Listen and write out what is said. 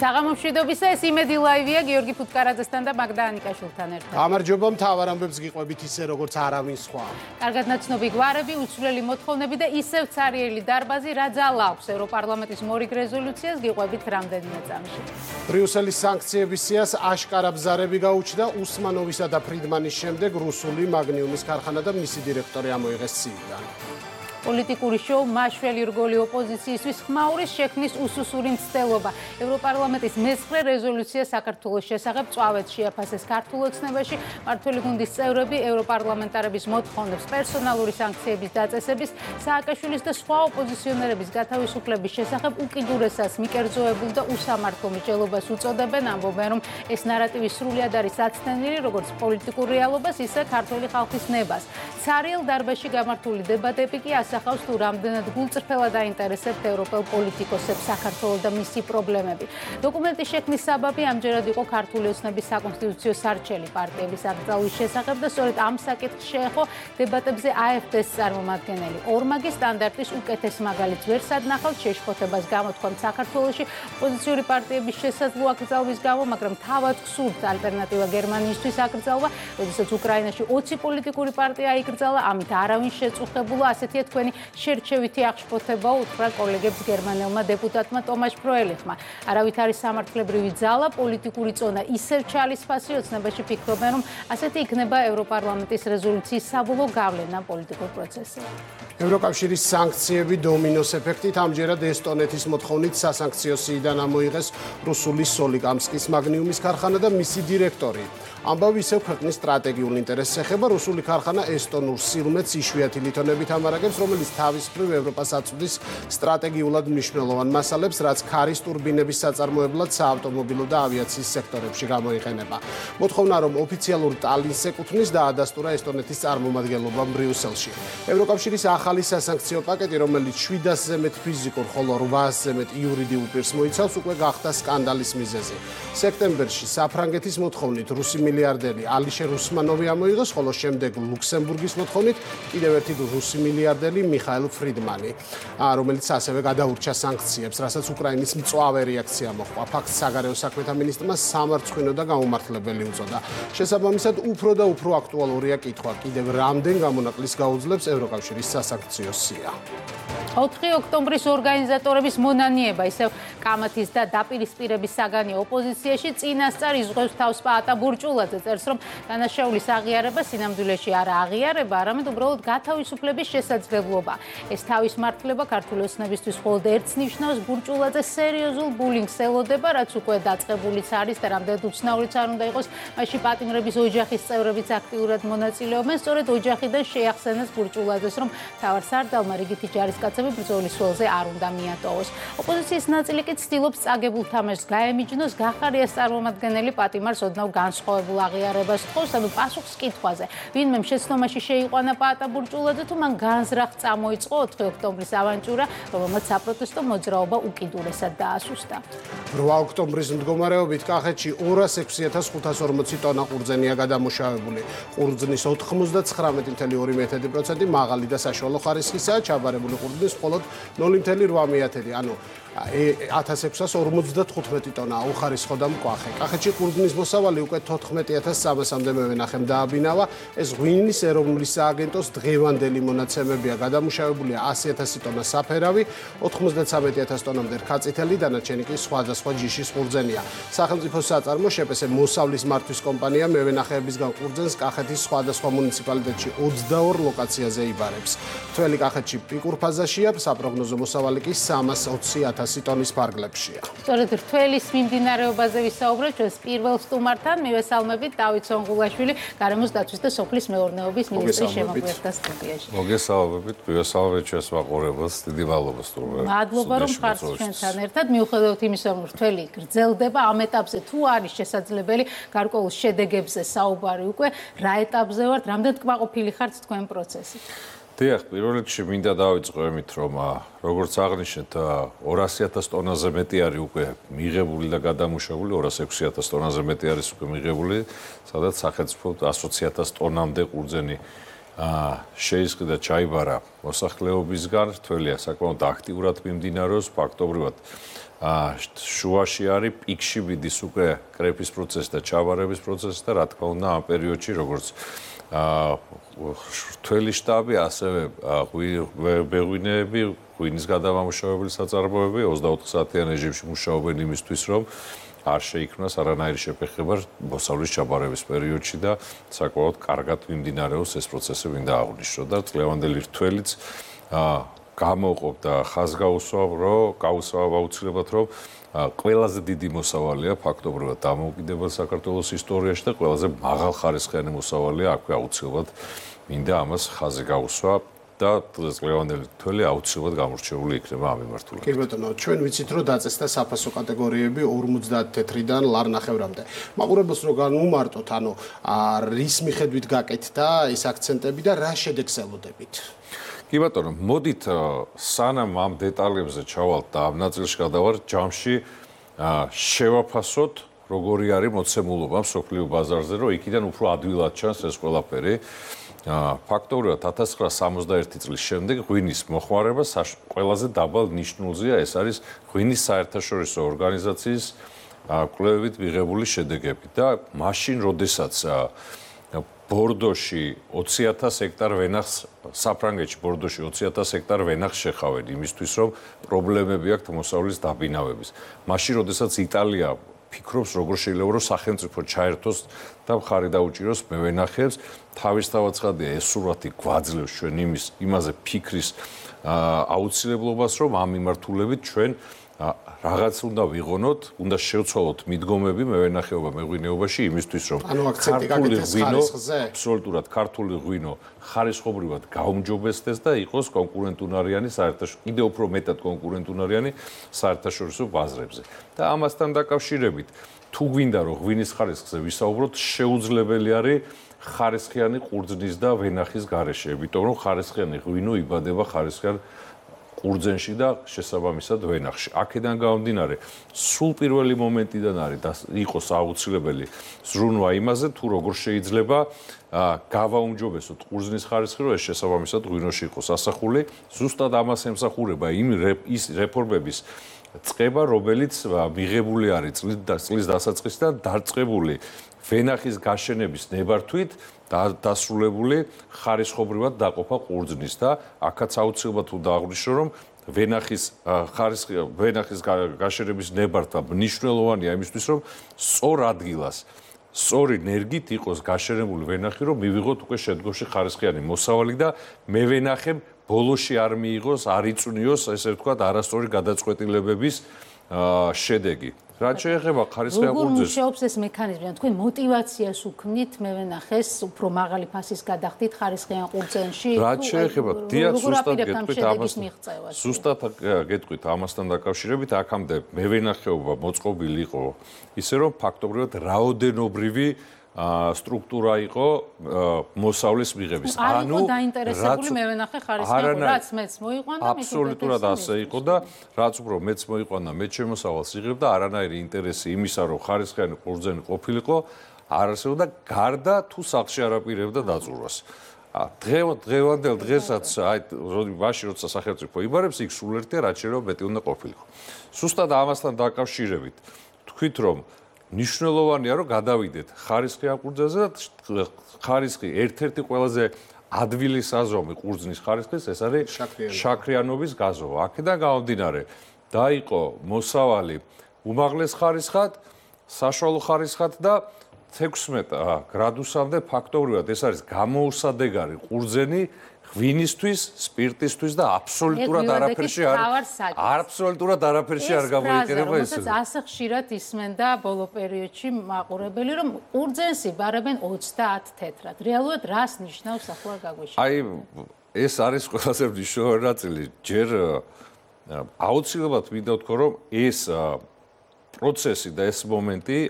საღამომშვიდობისა, ეს იმედი ლაივია გიორგი ფუტკარაძესთან და მაგდა ანიკაშვილთან ერთად. გამარჯობა, მთავარ ამბებს გიყვებით ისე როგორც არავინ სხვა. კარგად ნაცნობი გვარები, უცვლელი მოთხოვნები და ისევ ცარიელი დარბაზი რა ძალა აქვს ევროპარლამენტის მორიგ რეზოლუციას გიყვებით რამდენიმე წამში. ბრიუსელის სანქციების სიას აშკარა ბზარები გაუჩნდა უსმანოვისა და ფრიდმანის შემდეგ რუსული მაგნიუმის ქარხანა და მისი დირექტორი ამოიღეს ცივიდან. პოლიტიკური შოუ მაშველი რგოლი ოპოზიციისთვის ხმაურის შექმნის უსუსური მცდელობა. ევროპარლამენტის მე-9 რეზოლუცია საქართველოს შესახებ წვავეთ შეაფასეს ქართულ ოცნებაში. მმართველი გუნდის წევრები ევროპარლამენტარების მოთხოვნებს პერსონალური სანქციების დაწესების, სააკაშვილის და სხვა ოპოზიციონერების გათავისუფლების შესახებ უკიდურესად მიკერძოებულ და უსამართლო მსჯელობას უწოდებენ, ამბობენ, რომ ეს ნარატივი სრულიად არის აცდენილი როგორც პოლიტიკურ რეალობას, ისე ქართული ხალხის ნებას. ცარიელ დარბაზში გამართული დებატები კი ასახავს თუ რამდენად გულწრფელად აინტერესებთ ევროპელ პოლიტიკოსებს საქართველოს და მისი პრობლემები. დოკუმენტის შექმნის საბაბი ამჯერად იყო ქართული ოცნების საკონსტიტუციო სარჩელი პარტიების აკრძალვის შესახებ და სწორედ ამ საკითხს შეეხო დებატებზე AfD-ს წარმომადგენელი. ორმაგი სტანდარტის უკეთეს მაგალითს ვერ სადნახავთ შეშფოთებას გამოთქვამთ საქართველოში ოპოზიციური პარტიების შესაძლო აკრძალვის გამო, მაგრამ თავად გსურთ ალტერნატივა გერმანიისთვის აკრძალვა, როდესაც უკრაინაში 20 პოლიტიკური პარტია აიკრძალა, ამით არავინ შეწუხებულა, ასეთია თქვენი შერჩევითი აღშფოთება უთხრა კოლეგებს გერმანელმა დეპუტატმა ტომაშ ფროელიხმა. არავით არის სამართლებრივი ძალა, პოლიტიკური წონა ისევ ჩალისფასი, ოცნებაში ფიქრობენ, რომ ასეთი იქნება ევროპარლამენტის რეზოლუციის საბოლოო გავლენა პოლიტიკურ პროცესზე. ევროკავშირის სანქციები დომინოს ეფექტით ამჯერად ესტონეთის მოთხოვნით სასანქციო სიიდან ამოიღეს რუსული სოლიკამსკის მაგნიუმის ქარხანა და მისი დირექტორი. ამბავი ისევ ქვეყნის სტრატეგიულ ინტერესს ეხება. რუსული ქარხანა ესტონურ სილმეთს იშვიათი ლითონებით ამარაგებს, რომელიც თავის მხრივ ევროპას აწვდის სტრატეგიულად მნიშვნელოვან მასალებს, რაც ქარის ტურბინების საწარმოებლად საავტომობილო და ავიაციის სექტორებში გამოიყენება. მოთხოვნა, რომ ოფიციალურ ტალინს ეკუთვნის, დაადასტურა ესტონეთის წარმომადგენლობამ ბრიუსელში. ევროკავშირის ახალი სასანქციო პაკეტი, რომელიც 700-ზე მეტ ფიზიკურ, ხოლო 800-ზე მეტ იურიდიულ პირს მოიცავს, უკვე გახდა სკანდალის მიზეზი. სექტემბერში საფრანგეთის მოთხოვნით რუსი მილიარდერი ალიშერ უსმანოვი ამოიღეს, ხოლო შემდეგ ლუქსემბურგის მოთხოვნით კიდევ ერთი რუსი მილიარდერი მიხაილ ფრიდმანი, რომელიც ასევე გადაურჩა სანქციებს, რასაც უკრაინის მწვავე რეაქცია მოჰყვა. ფაქტს საგარეო საქმეთა მინისტრმა სამარცხვინო და გაუმართლებელი უწოდა. შესაბამისად, უფრო და უფრო აქტუალურია კითხვა, კიდევ რამდენ გამონაკლისს გაუძლებს ევროკავშირის სასანქციო სია. 4 ოქტომბრის ორგანიზატორების მონანიება, ისევ კამათის და დაპირისპირების საგანი ოპოზიციაში წინასწარ იზღვევს თავს პაატა ბურჭულაძე, წერს, რომ დანაშაულის აღიარება სინამდვილეში არა აღიარება, არამედ უბრალოდ გათავისუფლების შესაძლებლობა. ეს თავის მართლება ქართული ოცნებისთვის მხოლოდ ერთს ნიშნავს, ბურჭულაძე სერიოზულ ბულინგს ელოდება, რაც უკვე დაწყებულიც არის და რამდენად უცნაურიც არ უნდა იყოს, მასში პატიმრების ოჯახის წევრებიც აქტიურად მონაწილეობენ, სწორედ ოჯახიდან შეახსენეს ბურჭულაძეს, რომ მთავარ სარდალმა რიგითი ჯარისკაცები ბრძოლის ველზე არ უნდა მიატოვოს. ოპოზიციის ნაწილი კი ცდილობს წაგებულ თამაშს გაემიჯნოს, გახარიას წარმომადგენელი პატიმარს ოდნავ განსხვავებულ აღიარებას თხოვს, ანუ პასუხს კითხვაზე, ვინმე შეცდომაში შეიყვანა პაატა ბურჭულაძე თუ მან განზრახ წამოიწყო 4 ოქტომბრის ავანტიურა, რომელმაც საპროტესტო მოძრაობა უკიდურესად დაასუსტა. 8 ოქტომბრის მდგომარეობით კახეთში 206.540 ტონა ყურძენია გადამუშავებული. ყურძნის 99.2% მაღალი და საშუალო ხარისხისაა, ჩაბარებული ყურძნის მხოლოდ 0.8, ანუ 1655 ტონა უხარისხო და მკვახე. კახეთში ყურძნის მოსავალი უკვე 14,300-მდე მევენახემ დააბინავა. ეს ღვინის ეროვნული სააგენტოს დღევანდელი მონაცემებია. გადამუშავებულია 100,000 ტონა საფერავი, 93,000 ტონამდე რქაწითელი, დანარჩენი კი სხვადასხვა ჯიშის ყურძენია. სახელმწიფო საწარმო შპს მოსავლის მართვის კომპანია მევენახეებისგან ყურძენს კახეთის სხვადასხვა მუნიციპალიტეტში 22 ლოკაციაზე იბარებს. მთელი კახეთში პიკურ ფაზაშია, საპროგნოზო მოსავალი კი 320,000 ტონის ფარგლებშია. სწორედ რთველის მიმდინარეობაზე ვისაუბრებთ ჩვენს პირველ სტუმართან, მივესალმებით დავით სონღულაშვილი, გარემოს დაცვის და სოფლის მეურნეობის მინისტრის შემოგვიერთდა სტუდიაში. მოგესალმებით, მივესალმებით ჩვენს მაყურებელს, დიდი მადლობა სტუმრად. მადლობა რომ ხართ ჩვენთან ერთად, მიუხედავად იმისა, რომ რთველი გრძელდება, ამ ეტაპზე თუ არის შესაძლებელი გარკვეულ შედეგებზე საუბარი უკვე, რა ეტაპზე ვართ, რამდენად კმაყოფილი ხართ თქვენ პროცესით? დიახ, პირველ რიგში მინდა დავიწყო იმით, რომ როგორც აღნიშნეთ, 200,000 ტონაზე მეტი არის უკვე მიღებული და გადამუშავებული, 206,000 ტონაზე მეტი არის უკვე მიღებული, სადაც სახელმწიფო 120,000 ტონამდე ყურძენი შეისყიდა ჩაიბარა მოსახლეობისგან, რთველია საკმაოდ აქტიურად მიმდინარეობს, ფაქტობრივად შუაში არის პიკში მიდის უკვე კრეფის პროცესი და ჩაბარების პროცესი და რა თქმა უნდა ამ პერიოდში როგორც რთველი შტაბი, ასევე ბეღვინეები, ღვინის გადამამუშავებელი საწარმოები 24 საათიან რეჟიმში მუშაობენ იმისთვის, რომ არ შეიქმნას არანაირი შეფეხება მოსავლის ჩაბარების პერიოდში და საკმაოდ კარგად მიმდინარეობს ეს პროცესი, მინდა აღვნიშნო და წლევანდელი რთველიც გამოყოფდა ხაზგაუსვავ აუცილებლად, რომ ყველაზე დიდი მოსავალია ფაქტობრივად დამოუკიდებელ საქართველოს ისტორიაში და ყველაზე მაღალხარისხიანი მოსავალია აქვე აუცილებლად მინდა ამას ხაზი გაუსვა და წლევანდელი რთველი აუცილებლად გამორჩეული იქნება ამ მიმართულებით. კი ბატონო, ჩვენ ვიცით, რომ დაწესდა საფასო კატეგორიები 50 თეთრიდან ლარნახევრამდე. მაყურებელს რო განვუმარტოთ, ანუ რის მიხედვით გაკეთდა ეს აქცენტები და რა შედეგს ელოდებით? კი ბატონო, მოდით სანამ ამ დეტალებზე ჩავალთ და ამ ნაწილში გადავარ ჯამში შევაფასოთ როგორი არის მოცემულობა მსოფლიო ბაზარზე, რომ იქიდან უფრო ადვილად ჩანს ეს ყველაფერი. ფაქტობრივად 1961 წლის შემდეგ ღვინის მოხმარება ყველაზე დაბალ ნიშნულზეა, ეს არის ღვინის საერთაშორისო ორგანიზაციის კვლევებით მიღებული შედეგები და მაშინ როდესაც ბორდოში 20,000 ჰექტარ ვენახს საფრანგეთში ბორდოში 20,000 ჰექტარ ვენახს შეხავენ იმისთვის რომ პრობლემები აქვთ მოსავლის დაბინავების. მაშინ როდესაც იტალია ფიქრობს როგორ შეიძლება რომ სახელმწიფო ჩაერთოს და მხარი დაუჭიროს მევენახეებს, თავისთავად ცხადია ეს სურათი გვაძლევს ჩვენ იმაზე ფიქრის აუცილებლობას, რომ ამ მიმართულებით ჩვენ რაღაც უნდა ვიღონოთ, უნდა შევცვალოთ მიდგომები მევენახეობა მეღვინეობაში იმისთვის, რომ ქართული ღვინო, აბსოლუტურად ქართული ღვინო ხარისხობრივად გაუმჯობესდეს და იყოს კონკურენტუნარიანი საერთაშორისო, კიდევ უფრო მეტად კონკურენტუნარიანი საერთაშორისო ბაზრებზე. და ამასთან დაკავშირებით, თუ გვინდა რომ ღვინის ხარისხზე ვისაუბროთ, შეუძლებელი არის ხარისხიანი ყურძნის და ვენახის გარეშე, იმიტომ რომ ხარისხიანი ღვინო იბადება ხარისხიან ყურძენში და შესაბამისად ვენახში. აქედან გამომდინარე, სულ პირველი მომენტიდან არის იყოს აუცილებელი ზრუნვა იმაზე, თუ როგორ შეიძლება გავაუმჯობესოთ ყურძნის ხარისხი, რომ ეს შესაბამისად ღვინოში იყოს ასახული. ზუსტად ამას ემსახურება ის რეფორმების წყება, რომელიც მიღებული არის წლის დასაწყისიდან დაწყებული ვენახის გაშენების ნებართვით დასრულებული ხარისხობრივად დაყოფა ყურძნის და აქაც აუცილებლად უნდა აღვნიშნო, რომ ვენახის გაშენების ნებართვა მნიშვნელოვანია იმისთვის, რომ სწორ ადგილას, სწორი ნერგით იყოს გაშენებული ვენახი, რომ მივიღოთ უკვე შედგოში ხარისხიანი მოსავალი და მევენახემ ბოლოში არ მიიღოს, არ იწვნიოს, ესე ვთქვათ, არასწორი გადაწყვეტილებების შედეგი. რაც შეეხება ხარისხიან ყურძენს, როგორ მუშაობს ეს მექანიზმი? თქვენ მოტივაციას უქმნით მევენახეს უფრო მაღალი ფასის გადახდით ხარისხიან ყურძენში? რაც შეეხება დიახ, ზუსტად გეტყვით ამასთან დაკავშირებით, აქამდე მევენახეობა მოწყობილი იყო ისე რომ ფაქტობრივად რაოდენობრივი სტრუქტურა იყო მოსავლის მიღების. არ იყო დაინტერესებული მევენახე ხარისხიან, რაც მეც მოიყვანდა, აბსოლუტურად ასე იყო და რაც უფრო მეც მოიყვანდა, მეც შემოსავალს იღებ და არანაირი ინტერესი იმისა, რომ ხარისხიანი ყურძენი ყოფილიყო, არ არსებობდა გარდა თუ სახლში არ აპირებდა დაწურვას. დღევანდელ დღესაც, მაშინ როცა სახელმწიფო იბარებს, იქ სულ ერთია, რაც შეიძლება მეტი უნდა ყოფილიყო. ზუსტად ამასთან დაკავშირებით, თქვით რომ ნიშნულოვანია რომ გადავიდეთ ხარისხიან ყურძენზე და ხარისხი ერთ-ერთი ყველაზე ადვილი საზომი ყურძნის ხარისხის ეს არის შაქრიანობის გაზოვა. აქედან გამომდინარე, დაიყო მოსავალი უმაღლეს ხარისხად, საშუალო ხარისხად და 16 გრადუსამდე ფაქტობრივად ეს არის გამოუსადეგარი ყურძენი ღვინისთვის, სპირტისთვის და აბსოლუტურად არაფერში არ გამოიყენება ეს. ასე ხშირად ისმენდა ბოლო პერიოდში მაყურებელი, რომ ყურძენს იბარებენ 30 თეთრად. რეალურად რას ნიშნავს ახლა გაგვეშინდა? აი, ეს არის ყველაზე მნიშვნელოვანი ნაწილი. ჯერ აუცილებლად მინდა ვთქვა, რომ ეს პროცესი და ეს მომენტი